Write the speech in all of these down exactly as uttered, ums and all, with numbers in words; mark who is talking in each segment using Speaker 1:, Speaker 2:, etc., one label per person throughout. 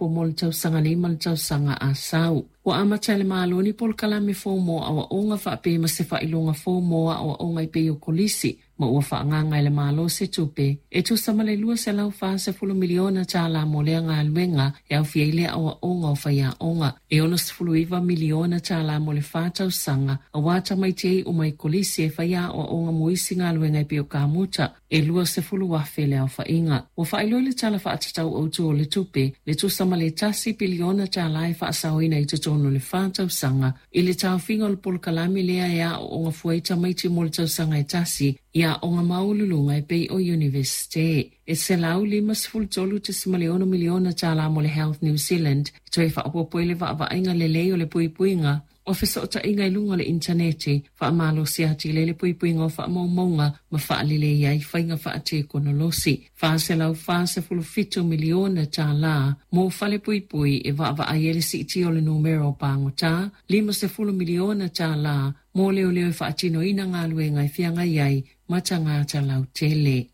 Speaker 1: faaopoopo mo le tausaga nei ma le tausaga a sau. Ua amata e le Malo ni polokalame fou mo aoaoga faapea ma se faailoga fou mo aoaoga e pei o kolisi ma ua faaagaaga e le Malo se tupe e tusa ma le lua selau fasefulu miliona tālā mo lea galuega e aofia ai le aoaoga o faiaoga e ono sefulu iva miliona tālā mo le fa tausaga auā tamaiti e iu mai kolisi e faia aoaoga mo isi galuega e pei o kamuta e lua sefulu afe le aofaiga. Ua faailoa i le Tala Faatatau Autu o le Tupe le tusa ma le tasi piliona tālā e faasaoina i totonu o le fa tausaga i le taofiga o le polokalame lea e aooga fua ai tamaiti mo le tausaga e tasi i aoga maualuluga e pei o Iunivesite. E selau limasefulu tolu tesima le ono miliona tālā mo le Health New Zealand e toe faaopoopo ai le vaavaaiga lelei o le puipuiga o fesootaiga i luga o le initaneti, faamalosi atili ai le puipuiga o faamaumauga ma faalelei ai faiga faatekonolosi. Fa selau fasefulu fitu miliona tālā mo fale puipui e vaavaai ai le siitia o le numera o pagotā, limasefulu miliona tālā mo leoleo e faatinoina galuega e feagai ai ma tagata lautele.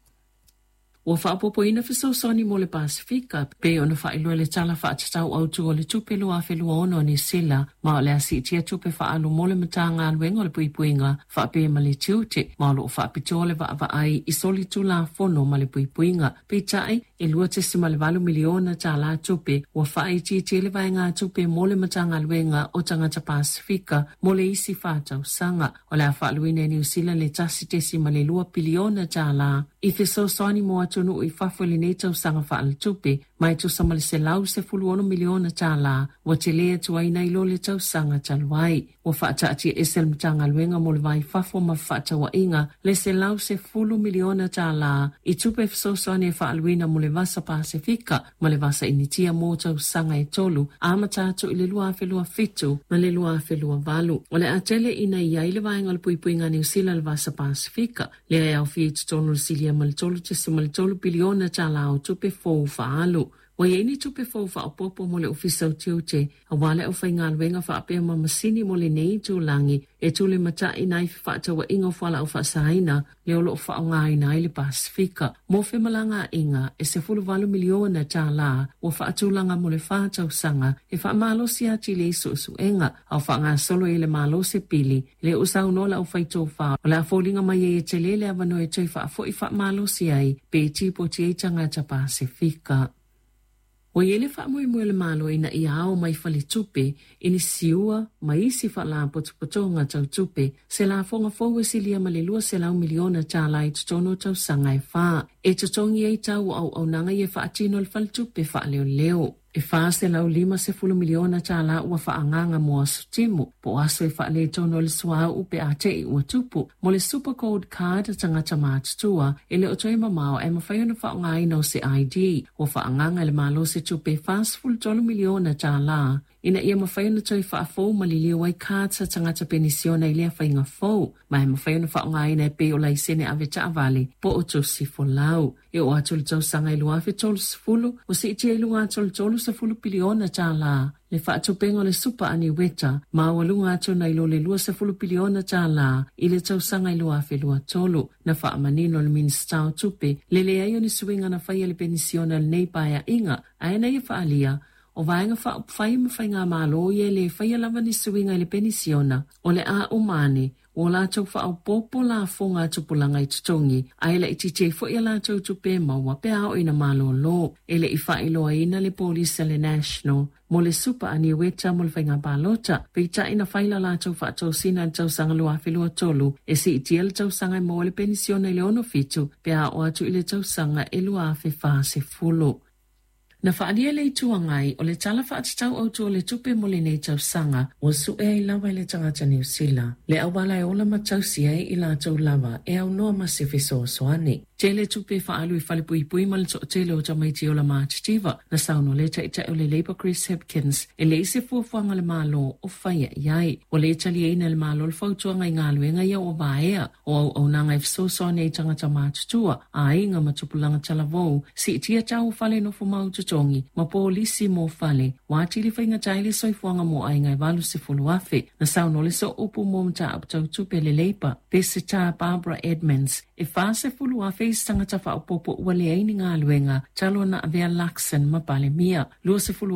Speaker 1: Ua faaopoopoina fesoasoani mo le Pasifika pei ona faailoa i le Tala Faatatau Autu o le Tupe lua afe lua ono a Niu Sila ma o le a siitia tupe faaalu mo le Matagaluega o le Puipuiga faapea ma le tiute ma o loo faapitoa le vaavaai i solitulafono ma le puipuiga. Peitai e lua tesima le valu miliona tālā tupe ua faaitiitia le vaegatupe mo le Matagaluega o Tagata Pasifika mo le isi fa tausaga. O le a faaluina e Niu Sila le tasi tesima le lua piliona tālā i fesoasoani mo atunuu i fafo i lenei tausaga faaletupe ma e tusa ma le selau sefulu ono miliona tālā ua telē atu ai nai lo le tausaga talu ai. Ua faataatiaese e le Matagaluega mo le Va i Fafo ma Fefaatauaiga le selau sefulu miliona tālā i tupe fesoasoani e faaluina mo le Vasa Pasifika ma le Vasa Initia mo tausaga e tolu amata atu i le lua afe lua fitu ma le lua afe lua valu. O le a tele ina i ai le vaega o le puipuiga a Niu Sila i le Vasa Pasifika lea e aofia i totonu o le silia ma le tolu tesima le tolu piliona tālā o tupe fou faaalu. Ua i ai ni tupe fou faaopoopo mo le Ofisa o Tiute auā le aufaigaluega faapea ma masini mo lenei itulagi e tulimataʻina ai fefaatauaiga o fualaau faasaina lea o loo faaaogāina ai le Pasifika. Mo femalagaaiga e sefulu valu miliona tālā ua faatulaga mo le fa tausaga e faamalosi atili ai suesuega a o faagasolo ai le Malo se pili lea ua saunoa le aufaitofā o le a foliga mai ai e telē le avanoa e toe faafoʻi faamalosi ai pe tipoti ai tagata Pasifika. Ua i ai le faamoemoe o le Malo ina ia ao mai faletupe i ni siua ma isi faalapotopotoga tau tupe se lafoga fou e silia ma le lua selau miliona tālā i totonu o tausaga e fa e totogi ai tau o auaunaga ia faatino e le faletupe faaleoleo. E fa selau limasefulu miliona tālā ua faaagaaga mo aso timu po o aso e faaletonu ai le suauu pe a teʻi ua tupu mo le Super Gold Card a tagata matutua e le o toe mamao ae mafai ona faaaogāina o se I D. Ua faaagaaga e le Malo se tupe fasefulu tolu miliona tālā ina ia mafai ona toe faafou ma liliu ai cards a tagata penisiona i lea faiga fou ma e mafai ona faaaogāina e pei o laisene ave taavale po o tusi folau. E oo atu i le tausaga i lua afe tolusefulu ua siitia i luga atu o le tolusefulu piliona tālā le faatupega o le supa aniueta maualuga atu nai lo le luasefulu piliona tālā i le tausaga i lua afe lua tolu. Na faamanino le Minisita o Tupe le leai o ni suiga na faia i le penisiona i lenei paeaiga ae na ia faalia o vaega faaupufai ma faigamālō ia e lē faia lava ni suiga i le penisiona o le a uma ane ua latou faaopoopo lafoga a tupulaga i totogi ae laitiiti ai foʻi a latou tupe e maua pe a oo ina malōlō. E leʻi faailoaina le polisi a le National mo le supa aniueta mo le faiga palota peitai na fai la latou faatosina i le tausaga lua afe lua tolu e siitia le tausaga e maua ai le penisiona i le ono fitu pe a oo atu i le tausaga e lua afe fasefulu. Na faalia e le Itu Agai o le Tala Faatatau Autu o le Tupe mo lenei tausaga ua sue ai lava i le tagata Niu Sila le auala e ola ma tausi ai i latou lava e aunoa ma se fesoasoani. Tele tupe faaalu i falepuipui ma le toatele o tamaiti ola matitiva na saunoa le Taitai o le Labour Chris Hipkins e leai se fuafuaga a le Malo o faia i ai. Ua le taliaina e le Malo le fautuaga i galuega ia ua vaea o auaunaga e fesoasoani ai tagata matutua, aiga ma tupulaga talavou, siitia tau o fale nofo mau totogi ma polisi mo fale ua atili faigata ai le soifuaga mo aiga e valusefulu afe. Na saunoa le sooupu mo mataupu tau tupe le Labour Peseta Barbara Edmonds e fasefulu afe isi tagata faaopoopo ua leai ni galuega talu ona avea Luxon ma Palemia. Luasefulu